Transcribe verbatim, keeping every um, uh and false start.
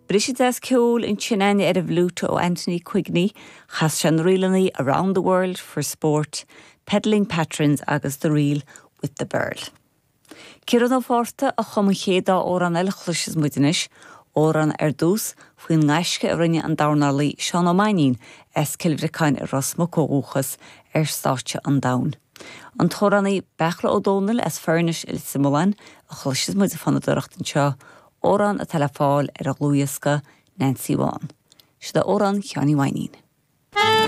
Briseadh deas ceoil ansin ar an bhfliúit ó Anthony Quigney, chas sé na ríleanna Around the World for Sport, Peddling Patrons agus the Reel with the Birl. Ciarán Ó Fátharta a chum an chéad dá amhrán eile a chloisfidh muid anois, amhrán ar dtús faoin ngaisce a rinne an dornálaí Seán Ó Mainnín as Cill Bhriocáin i Ros Muc ó dhúchas ar stáitse an domhain. An t-amhránaí Beachla Ó Dónaill as Furnish i Leitir Mealláin a chloisfidh muid ag fonnadóireacht anseo, amhrán atá le fáil ar a dhlúthdhiosca Nancy Bhán. Seo amhrán Sheáin Uí Mhainnín.